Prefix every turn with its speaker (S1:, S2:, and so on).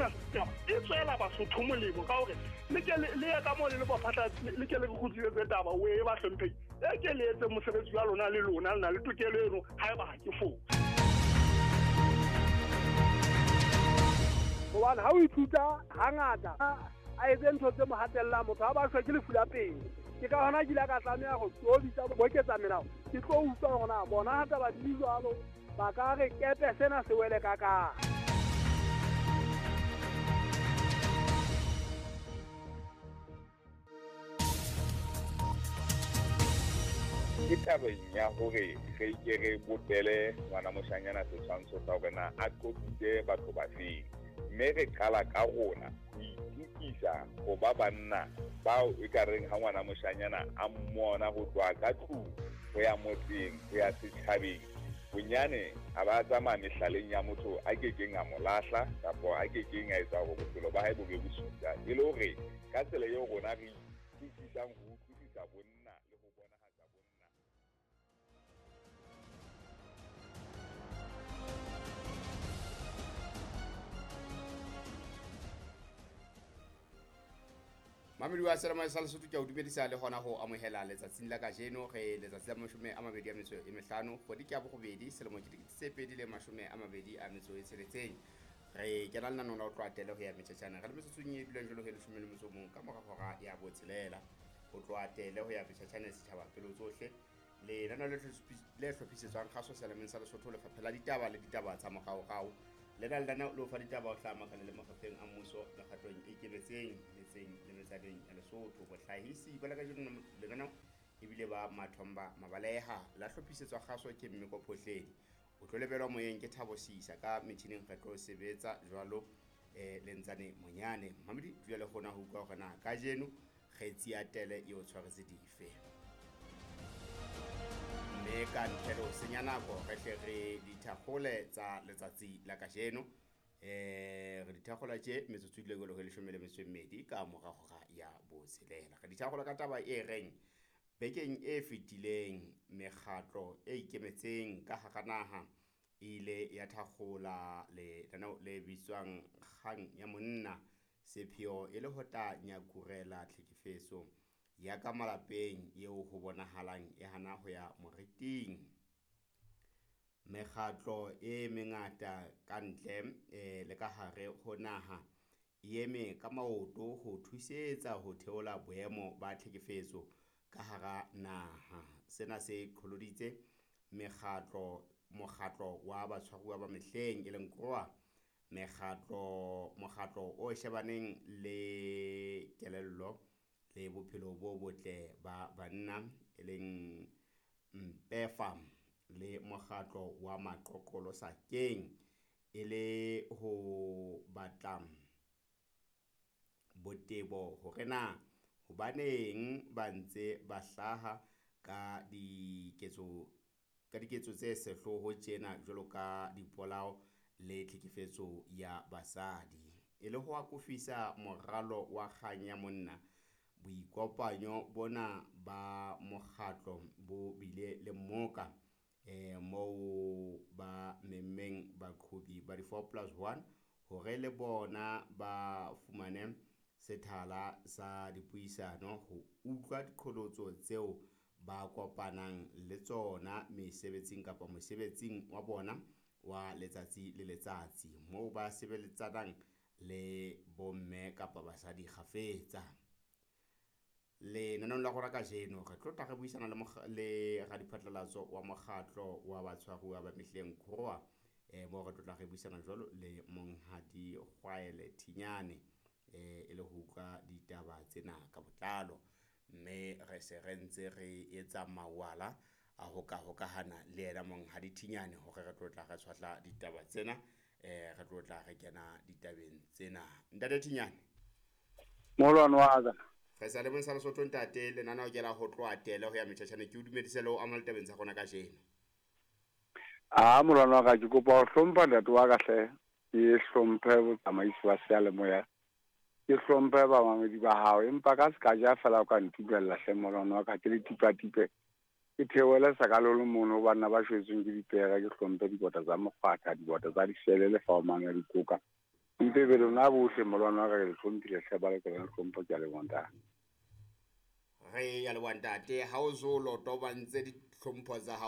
S1: Taba e tswela Basotho molemo ka hore le ke le ye ka moo le le baphatla le ke le re kgutlisetse taba o e ba hlompheng e ke le etse mosebetsi wa lona le lona le na le tokelo eno haeba ha ke fose.
S2: Hobane ha o ithuta hangata a etse ntho tse mo hatellang motho ha ba shwe ke lefu la pele. Ke ka hona ke ile ka tlameha ho tobitsa boketsa melao. Ke tlo utlwa hore na bona ha taba di jwalo ba ka re kepe sena se wele ka kae.
S3: Ke tabeng ya hore re ke re bopele ngwana moshanyana setshwantsho sa hore na a qobitse batho ba feng, mme re qala ka rona ho itukisa ho ba banna bao e ka reng ha ngwana moshanyana a mmona ho tloha ka tlung ho ya motseng ho ya setjhabeng, bonyane a ba tsamaya mehlaleng ya motho a kekeng a mo lahla kapa a kekeng a etsa hore bophelo ba hae bo be bosula, e le hore ka tsela eo rona re itukisang ho utlwisisa bonna le ho bonahatsa bonna.
S4: Mamedi wa Selemo sa Lesotho ke a o dumedisa le hona ho amohela letsatsing la kajeno re letsatsi la 25 kgwedi ke ya borobedi selemo ke 2026. Re kena lenaneo la ho tloha tele ho ya metjhatjhana re le metsotsong e dulang jwalo ho 11 ka mora hora ya botshelela. Ho tloha tele ho ya metjhatjhana setjhaba pelo tsohle lenaneo le hlophisetswang kgaso Selemeng sa Lesotho lefapha la ditaba le ditaba tsa moraorao. Lena lenaneo le o fa ditaba ho hlaha makaleng le mafapheng a mmuso mekgatlong e ikemetseng metseng le metsaneng ya Lesotho. Bohlahisi ba la kajeno lenaneo ebile ba Mathomba Mabaleha la hlophisetswa kgaso ke Mmeko Phohledi. O tlo lebelwa moyeng ke Thabo Sisa ka metjhining re tlo sebetsa jwalo le Ntsane Monyane. Mamedi dula le kgona ho utlwa hore na kajeno kgetsi ya tele e o tshwaretse dife. Mme ka ntle le ho senya nako re hle re dithakgole tsa letsatsi la kajeno. Re dithakgola tje metsotso e dule jwalo ho 12 ka mora hora ya botshelela. Re dithakgola ka taba e reng bekeng e fetileng mekgatlo e ikemetseng ka hara naha e ile ya thakgola lenaneo le bitswang Kgang ya Monna, sepheo e le ho tla nyakurela tlhekefetso ya ka malapeng eo ho bonahalang e hana ho ya moriting. Mekgatlo e mengata ka ntle le ka hare ho naha e eme ka maoto ho thusetsa ho theola boemo ba tlhekefetso ka hara naha. Sena se qholoditse mokgatlo wa batshwaruwa ba mehleng e leng KROA, mokgatlo o shebaneng le kelello le bophelo bo botle ba banna e leng Mpefa le mokgatlo wa Maqoqolo Sakeng e le ho batla botebo hore na hobaneng ba ntse ba hlaha ka diketso tse sehloho tjena jwalo ka dipolao le tlhekefetso ya basadi. E le ho akofisa moralo wa Kgang ya Monna, boikopanyo bona ba mokgatlo bo bile le mmoka moo ba memmeng baqhobi ba di-4+1 hore le bona ba fumane sethala sa dipuisano ho utlwa diqholotso tseo ba kopanang le tsona mesebetsing kapa mosebetsing wa bona wa letsatsi le letsatsi moo ba sebeletsanang le bomme kapa basadi kgafetsa. Lenaneong la rona kajeno re tlo tla re buisana le radiphatlalatso wa mokgatlo wa batshwaruwa ba mehleng KROA, moo re tlo tla re buisana jwalo le Monghadi Kgwaele Thinyane e le ho utlwa ditaba tsena ka botlalo. Mme re se re ntse re etsa mawala a ho ka hokahana le yena Monghadi Thinyane hore re tlo tla re tshwahla ditaba tsena, re tlo tla re kena ditabeng tsena. Ntate Thinyane.
S5: Molwane wa ka.
S4: Re sa le sa Lesotho ntate, lenaneo ke la ho tloha tele ho ya metjhatjhane. Ke o dumedise le ho amohela ditabeng tsa rona kajeno.
S5: A molwane wa ka, ke kopa ho hlompha ntate wa ka hle, ke hlomphe botsamaisi ba seyalemoya, ke hlomphe bamamedi ba hao, empa ka se ka ja fela o ka ntumella hle molwane wa ka, ke le tipatipe ke theohele sakalolo mono ho banna ba shwetsweng ke dipere, ke hlomphe dikota tsa mokgwatha, dikota tsa disele le faomang ya dikoka. Mpe be lona bohle molwana wa ka ke le hlomphile hle ba le ke le hlompho ke a leboha ntate.
S4: Re ya leboha ntate, ha o so lotobantse ditlhompho tsa hao.